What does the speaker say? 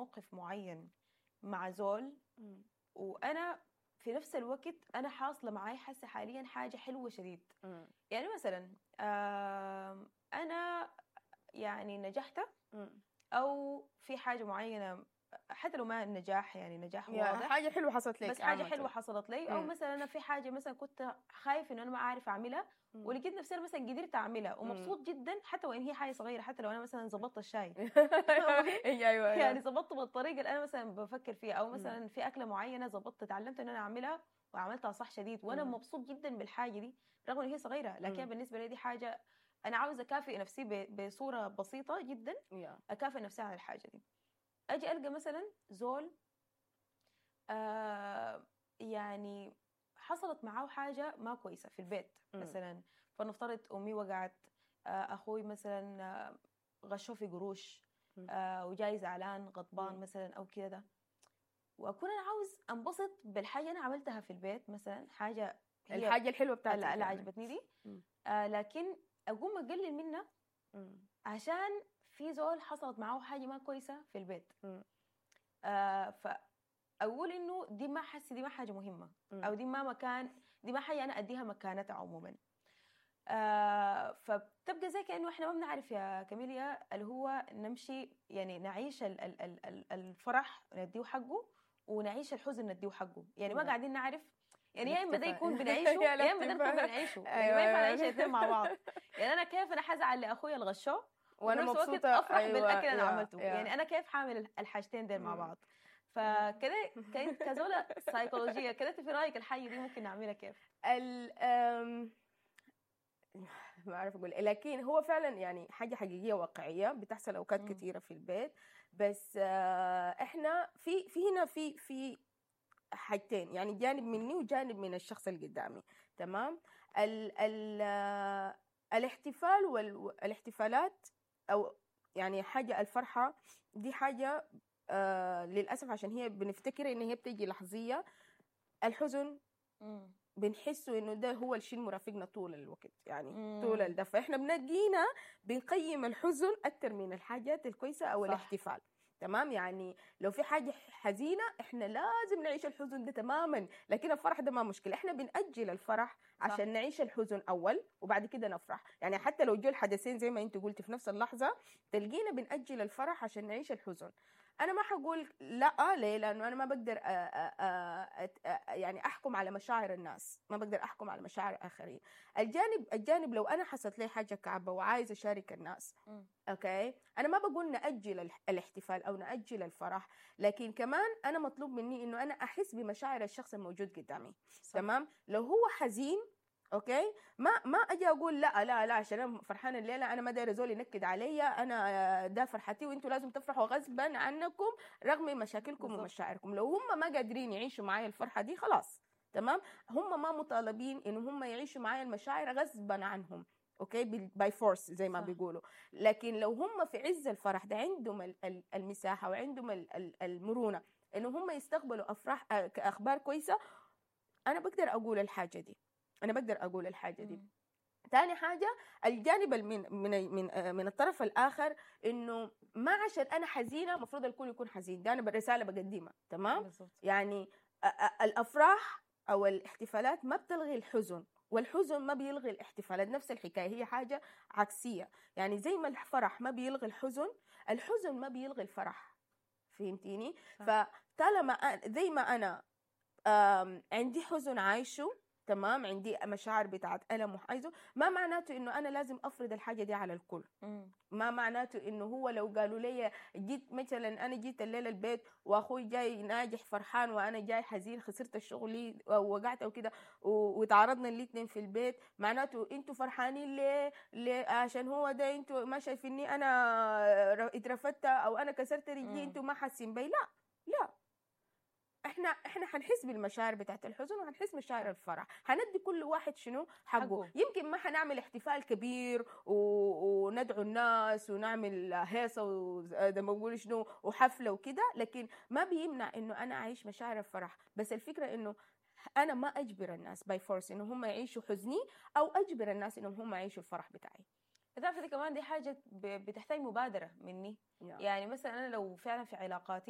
موقف معين مع زول، وانا في نفس الوقت انا حاصله معي حاسه حاليا حاجة حلوة شديد. يعني مثلا انا يعني نجحت او في حاجة معينه، حتى لو ما النجاح يعني نجاح واضح، حاجة حلوة حصلت لك. بس حاجة حلوة حصلت لي، او مثلا انا في حاجة مثلا كنت خايف انه انا ما اعرف اعملها ولقيت نفسي أنا مثلا قدرت اعملها ومبسوط جدا، حتى وان هي حاجة صغيره، حتى لو انا مثلا ظبطت الشاي. يعني ظبطته بالطريقة اللي انا مثلا بفكر فيها، او مثلا في اكله معينة ظبطت، اتعلمت ان انا اعملها وعملتها صح شديد، وانا مبسوط جدا بالحاجة دي رغم ان هي صغيره، لكن بالنسبة لي دي حاجة انا عاوزه اكافئ نفسي بصورة بسيطة جدا، اكافئ نفسي على الحاجة دي. اجي القى مثلا زول يعني حصلت معاه حاجة ما كويسة في البيت مثلا، فلنفترض امي وقعت، اخوي مثلا غشوه في قروش، وجاي زعلان غضبان مثلا او كده ده، واكون انا عاوز انبسط بالحاجة انا عملتها في البيت مثلا، حاجة هي الحاجة الحلوة بتاعتك اللي يعني. عجبتني دي، لكن اقوم اقلل منها عشان في زول حصلت معاه حاجة ما كويسة في البيت. فاقول انه دي ما حسي، دي ما حاجة مهمه، او دي ما مكان، دي ما حاجة انا اديها مكانتها عموما. فبتبقى زي كانه احنا ما بنعرف يا كاميليا اللي هو نمشي يعني نعيش الفرح نديه حقه ونعيش الحزن نديه حقه، يعني ما قاعدين نعرف، يعني يا اما ده يكون بنعيشه يا اما ده نكون بنعيشه، يعني ما ينفع نعيش الاثنين مع بعض. يعني انا كيف انا حزعل لاخويا الغشوه وانا مبسوطة افرح بالاكل اللي انا عملته؟ يعني انا كيف حامل الحاجتين دول مع بعض؟ فكده كزوله سايكولوجية كده، في رايك الحاجة دي ممكن نعملها كيف؟ ال ما اعرف اقول، لكن هو فعلا يعني حاجة حقيقية واقعية بتحصل اوقات كثيرة في البيت. بس احنا في هنا في حاجتين، يعني جانب مني وجانب من الشخص اللي قدامي، تمام؟ ال ال الاحتفال والاحتفالات او يعني حاجة الفرحة دي حاجة للاسف عشان هي بنفتكر ان هي بتيجي لحظيه، الحزن بنحسه انه ده هو الشيء المرافقنا طول الوقت، يعني طول ده، فاحنا بنجينا بنقيم الحزن اكثر من الحاجات الكويسة او الاحتفال، تمام؟ يعني لو في حاجة حزينة احنا لازم نعيش الحزن ده تماما، لكن الفرح ده ما مشكله، احنا بنأجل الفرح عشان نعيش الحزن اول وبعد كده نفرح. يعني حتى لو جو الحدثين زي ما انت قلتي في نفس اللحظه، تلقينا بنأجل الفرح عشان نعيش الحزن. انا ما حقول لا، ليه؟ لانه انا ما بقدر أ أ أ يعني احكم على مشاعر الناس، ما بقدر احكم على مشاعر الاخرين. الجانب لو انا حصلت لي حاجة كعبه وعايزه اشارك الناس، okay، انا ما بقول ناجل الاحتفال او ناجل الفرح، لكن كمان انا مطلوب مني انه انا احس بمشاعر الشخص الموجود قدامي. تمام؟ لو هو حزين، okay، ما اجي اقول لا لا لا، عشان انا فرحانة الليلة انا ما دايرة زول ينكد عليا، انا ده فرحتي وانتوا لازم تفرحوا غصبا عنكم رغم مشاكلكم ومشاعركم. لو هم ما قادرين يعيشوا معايا الفرحة دي خلاص، تمام، هم ما مطالبين ان هم يعيشوا معايا المشاعر غصبا عنهم، okay، by force زي ما بيقولوا. لكن لو هم في عز الفرح ده عندهم المساحة وعندهم المرونة انه هم يستقبلوا افراح اخبار كويسه، انا بقدر اقول الحاجة دي، انا بقدر اقول الحاجة دي. ثاني حاجة الجانب من الطرف الاخر، انه ما عشان انا حزينة المفروض الكل يكون حزين، ده انا رسالة بقدمها، تمام؟ يعني الافراح او الاحتفالات ما بتلغي الحزن، والحزن ما بيلغي الاحتفالات، نفس الحكاية، هي حاجة عكسيه. يعني زي ما الفرح ما بيلغي الحزن، الحزن ما بيلغي الفرح، فهمتيني؟ فطالما زي ما انا عندي حزن عايشه، تمام، عندي مشاعر بتاعت ألم وحايزه، ما معناته إنه أنا لازم أفرض الحاجة دي على الكل. ما معناته إنه هو لو قالوا لي جيت مثلا، أنا جيت الليلة البيت وأخوي جاي ناجح فرحان وأنا جاي حزين خسرت الشغل أو وقعت أو كده، وتعارضنا الاثنين في البيت، معناته أنتوا فرحانين ليه؟ ليه؟ عشان هو ده أنتوا ما شايفيني أنا اترفدت أو أنا كسرت رجلي، أنتوا ما حاسين بي. لا لا، احنا حنحس بالمشاعر بتاعت الحزن وحنحس مشاعر الفرح، حندي كل واحد شنو حقه. يمكن ما حنعمل احتفال كبير وندعو الناس ونعمل هيصه وزي ما بقول شنو وحفله وكده، لكن ما بيمنع انه انا اعيش مشاعر الفرح. بس الفكرة انه انا ما اجبر الناس by force انه هم يعيشوا حزني، او اجبر الناس انهم هم يعيشوا الفرح بتاعي. تعرفي كمان دي حاجة بتحتاج مبادرة مني. يعني مثلا انا لو فعلا في علاقاتي